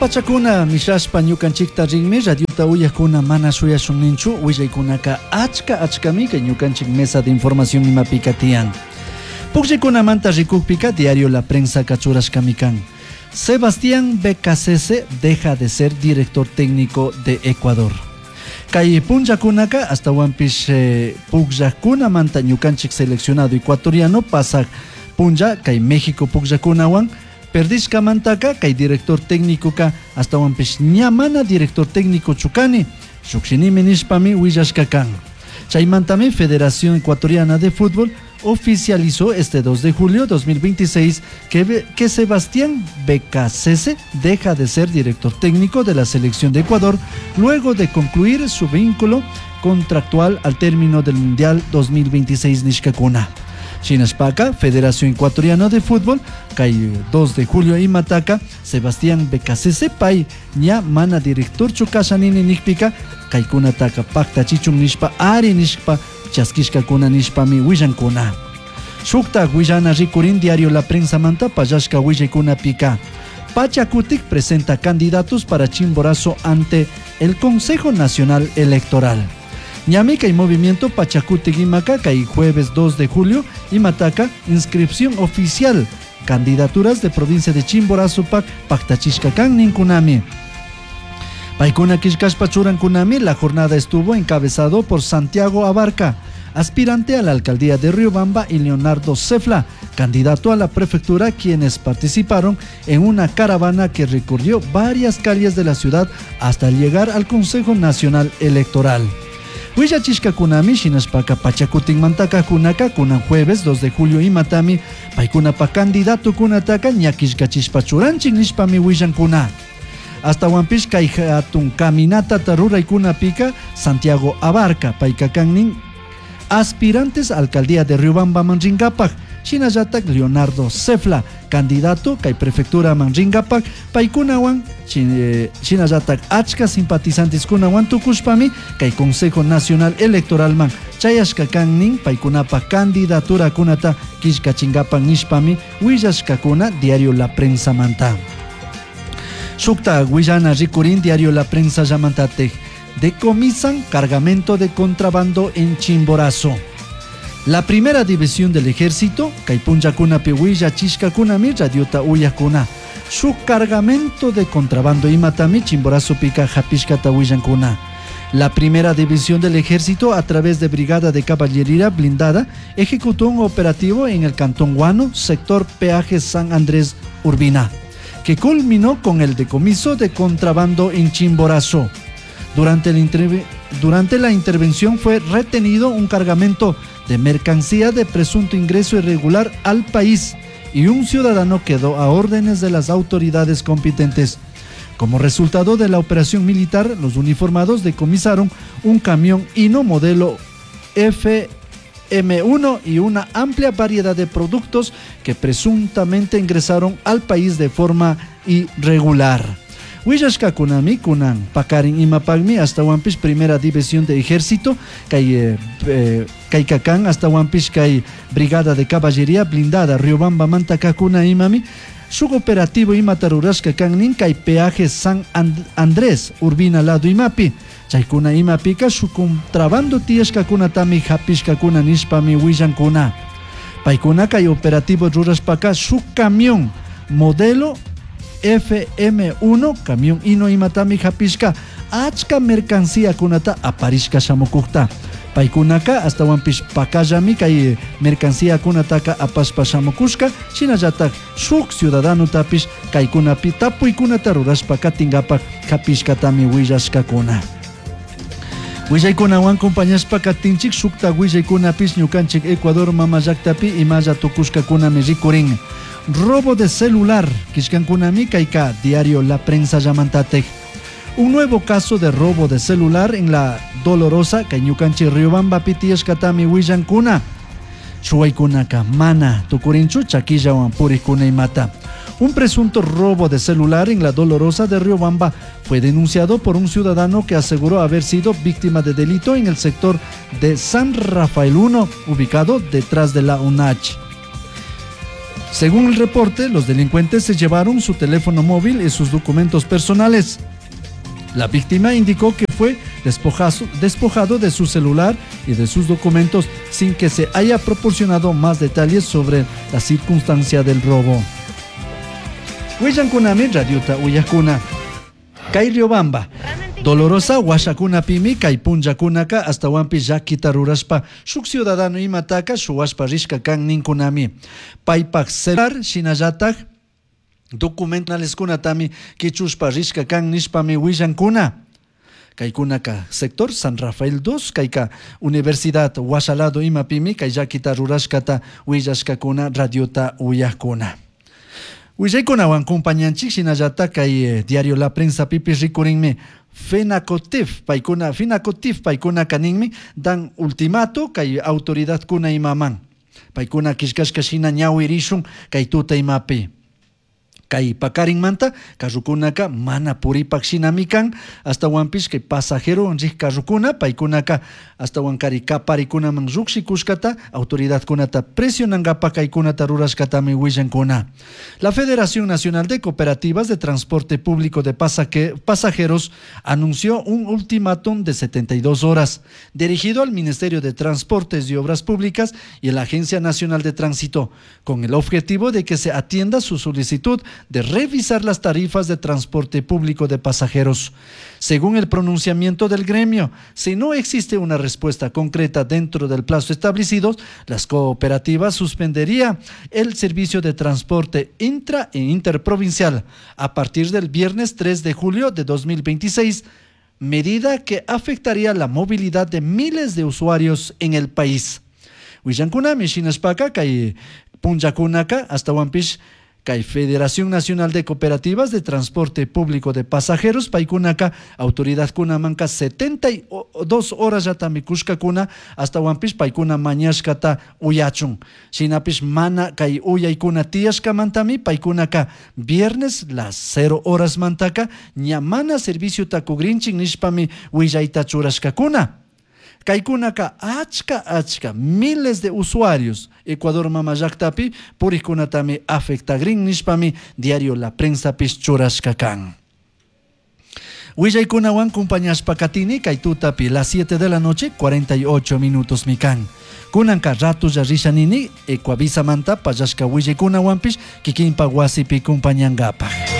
Pachakuna mishashpa ñukanchikta rinmi radiota uyakuna mana shuyashunninchu willaykunaka achka achkami kay ñukanchik mesa de información imapika tiyan. Pukllaykunamanta rikukpika diario La Prensa churashkami kan. Sebastián Beccacece deja de ser director técnico de Ecuador. Kay punllakunaka astawanpish pukllakkunamanta ñukanchik seleccionado ecuatoriano pasak punlla kay México pukllakunawan perdishkamantaka kay director técnicoka astawanpish ña mana director técnico chukani llukshinimi nishpami willashka kan. Chaymantami Federación Ecuatoriana de Fútbol oficializó este 2 de julio 2026 que Sebastián Beccacece deja de ser director técnico de la selección de Ecuador luego de concluir su vínculo contractual al término del Mundial 2026 nishkakuna. Shinashpaka, Federación Ecuatoriana de Fútbol, kay 2 de julio imataka, Sebastián Beccacece pay ña mana director kashanini nikpika, kaykunataka paktachichun nishpa ari nishpa chaskishkakuna nishpami willankuna. Shuktak willana rikurin diario La Prensa manta pallashka willaykunapika. Pachakutik presenta candidatos para Chimborazo ante el Consejo Nacional Electoral. Ñami kay movimiento Pachakutik imaka kay jueves 2 de julio imataka inscripción oficial candidaturas de provincia de Chimborazo pak paktachishka kan ninkunami. Paykuna killkashpa churankunami la jornada estuvo encabezado por Santiago Abarca, aspirante a la alcaldía de Riobamba, y Leonardo Cefla, candidato a la prefectura, quienes participaron en una caravana que recorrió varias calles de la ciudad hasta llegar al Consejo Nacional Electoral. Willachishkakunami shinashpaka Pachakutikmantaka kunaka kunan jueves 2 de julio imatami paykunapa candidato kunataka ña killkachishpa churanchik nishpami willankuna. Astawanpish kay hatun caminata ruraykunapika Santiago Abarca payka kannin aspirantes alcaldía de Riobamba man rinkapak, shinallatak Leonardo Cefla, candidato kay prefectura man rinkapak, paykunawan shinallatak achka simpatizantes kunawan tukushpami kay Consejo Nacional Electoral man chayashka kannin paykunapa candidatura kunata killkachinkapak nishpami willashkakuna diario La Prensa manta. Shukta willana rikurin diario La Prensa llamantatek. Decomisan cargamento de contrabando en Chimborazo. La primera división del ejército, kay punllakunapi willachishkakunami radiota uyakuna. Su cargamento de contrabando imatami Chimborazo pika hapishkata willankuna. La primera división del ejército, a través de Brigada de Caballería Blindada, ejecutó un operativo en el Cantón Guano, sector peaje San Andrés Urbina, que culminó con el decomiso de contrabando en Chimborazo. Durante la intervención fue retenido un cargamento de mercancía de presunto ingreso irregular al país y un ciudadano quedó a órdenes de las autoridades competentes. Como resultado de la operación militar, los uniformados decomisaron un camión Hino modelo FM1 y una amplia variedad de productos que presuntamente ingresaron al país de forma irregular. Willashkakunami kunan pakarin imapakmi astawanpish primera división de ejército kay kaykakan astawanpish kay brigada de caballería blindada Riobamba manta kakuna imami shuk operativo imata rurashka kannin kay peaje San Andrés Urbina lado imapi chaykuna imapika shuk contrabando tiyashkakunatami hapishkakuna nishpami willankuna. Paykuna kay operativo rurashpaka shuk camión modelo FM1 camión hino imatami hapishka achka mercancía kunata aparishka shamukukta. Paykunaka astawanpish pakallami kay mercancía kunataka apashpa shamukushka shinallatak shuk ciudadanotapish kaykunapi tapuykunata rurashpa katinkapak hapishkatami willashkakuna. Willaykunawan compañashpa katinchik shukta willaykunapish ñukanchik Ecuador mama llaktapi imalla tukushkakunami rikurin. Robo de celular, kishkankunami kayka diario La Prensa llamantatek. Un nuevo caso de robo de celular en la Dolorosa, kay ñukanchik Riobamba pitiyashkatami willankuna. Shuwaykunaka mana tukurinchu chakillawan purikuna imata. Un presunto robo de celular en la Dolorosa de Riobamba fue denunciado por un ciudadano que aseguró haber sido víctima de delito en el sector de San Rafael 1, ubicado detrás de la UNACH. Según el reporte, los delincuentes se llevaron su teléfono móvil y sus documentos personales. La víctima indicó que fue despojado de su celular y de sus documentos sin que se haya proporcionado más detalles sobre la circunstancia del robo. Huillancunami radiota uyajcuna. Kay Riobamba. Dolorosa huashacunapimi kay punllacunaka ashtahuanpish llaquita rurashpa shuk ciudadano imataka shuwashpa rishka kan ninkunami. Paypak celular shinallatak documentaleskunatami quichushpa rishka kan nishpami willankuna. Kaykunaka sector San Rafael 2 kayka Universidad Huashalado imapimi kay llaquita rurashkata willashkakuna radiota uyajkuna. Willaykunawan compañanchik shinallatak kay diario La Prensa pipish rikurinmi Fenacotif paykuna Finacotif paykunaka ninmi dan ultimato kay autoridadkuna imaman paykuna killkashka shina ñawirishun kay tuta imapi. Kay pakarinmanta carrukunaka mana puripak shinami kan ashtawanpish kay pasajero rik carrukuna paykunaka ashtawankari kaparikunaman llushikushkata autoridadkunata presionankapak kaykunata rurashkatami willankuna. La Federación Nacional de Cooperativas de Transporte Público de Pasajeros anunció un ultimátum de 72 horas dirigido al Ministerio de Transportes y Obras Públicas y a la Agencia Nacional de Tránsito, con el objetivo de que se atienda su solicitud de revisar las tarifas de transporte público de pasajeros. Según el pronunciamiento del gremio, si no existe una respuesta concreta dentro del plazo establecido, las cooperativas suspenderían el servicio de transporte intra e interprovincial a partir del viernes 3 de julio de 2026, medida que afectaría la movilidad de miles de usuarios en el país. Willankunami shinashpaka kay punllakunaka ashtawanpish kay Federación Nacional de Cooperativas de Transporte Público de Pasajeros paykunaka autoridadkunamanka 72 horas yatami kushkakuna ashtawanpish paykuna mañashkata uyachun. Shinapish mana kay uyaykuna tiyashkamantami paykunaka viernes las 0 horas mantaka ña mana serviciota kugrinchik nishpami willayta churashkakuna. Kaykunaka achka achka miles de usuarios Ecuador mama llaktapi purikkunatami afectagrin nishpami diario La Prensa pish churashka kan. Willaykunawan compañashpa katini kay tutapi las 7 de la noche 48 minutos mikan. Kunanka ratulla risha nini Ecuavisa manta pallashka willaykunawanpish kikinpa wasipi compañankapaj.